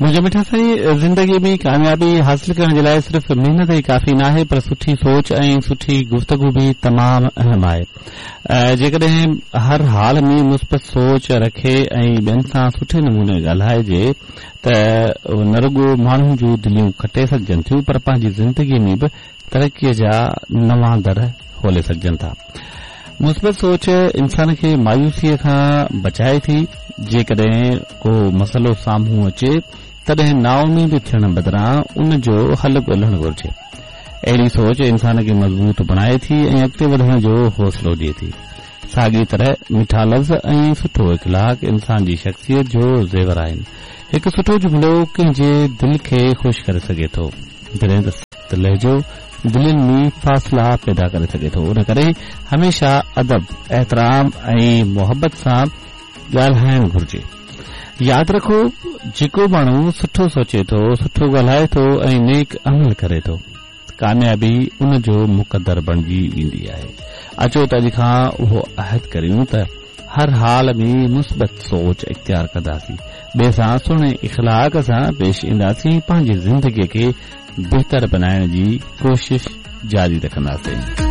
منهنجا مٺا سائين زندگي ۾ ڪاميابي حاصل ڪرڻ جي لاء صرف محنت ئي ڪافي ناهي پر سٺي سوچ ۽ سٺي گفتگو به تمام اهم آهي جيڪڏهن هر حال ۾ مثبت سوچ رکي ۽ ٻين سان سٺي نموني ڳالهائجي ته نه رڳو ماڻهن جون دليون کٽي سگهجن ٿيون پر پنهنجي زندگي ۾ به ترقيء جا نوان در کولي سگهجن ٿا. مثبت سوچ انسان کي مايوسيء کان بچائي ٿي. جيڪڏهن ڪو مسئلو سامهون اچي تڏهن نااميد ٿيڻ بدران ان جو حل ڳولڻ گهرجي. اهڙي سوچ انسان کي مضبوط بڻائي ٿي ۽ اڳتي وڌڻ جو حوصلو ڏئي ٿي. ساڳي طرح مٺا لفظ ۽ سٺو اخلاق انسان جي شخصيت جو زيور آهن. هڪ سٺو جملو ڪنهن جي دل کي خوش ڪري سگهي ٿو، جڏهن ته سخت لهجو دلين ۾ فاصلا پيدا ڪري سگهي ٿو. ان ڪري هميشه ادب، احترام ۽ محبت سان ڳالهائڻ گهرجي. ياد رکو، جيڪو ماڻهو سٺو سوچي ٿو، سٺو ڳالهائي ٿو ۽ نيڪ عمل ڪري ٿو. ڪاميابي ان جو مقدر بڻجي ويندي آهي. اچو ته اڄ کان اهو عهد ڪريون ته هر حال ۾ مثبت سوچ اختيار ڪنداسين، ٻئي سان سهڻي اخلاق سان پيش اينداسين ۽ پنهنجي زندگي کي بهتر بنائڻ جي ڪوشش جاري رکنداسين.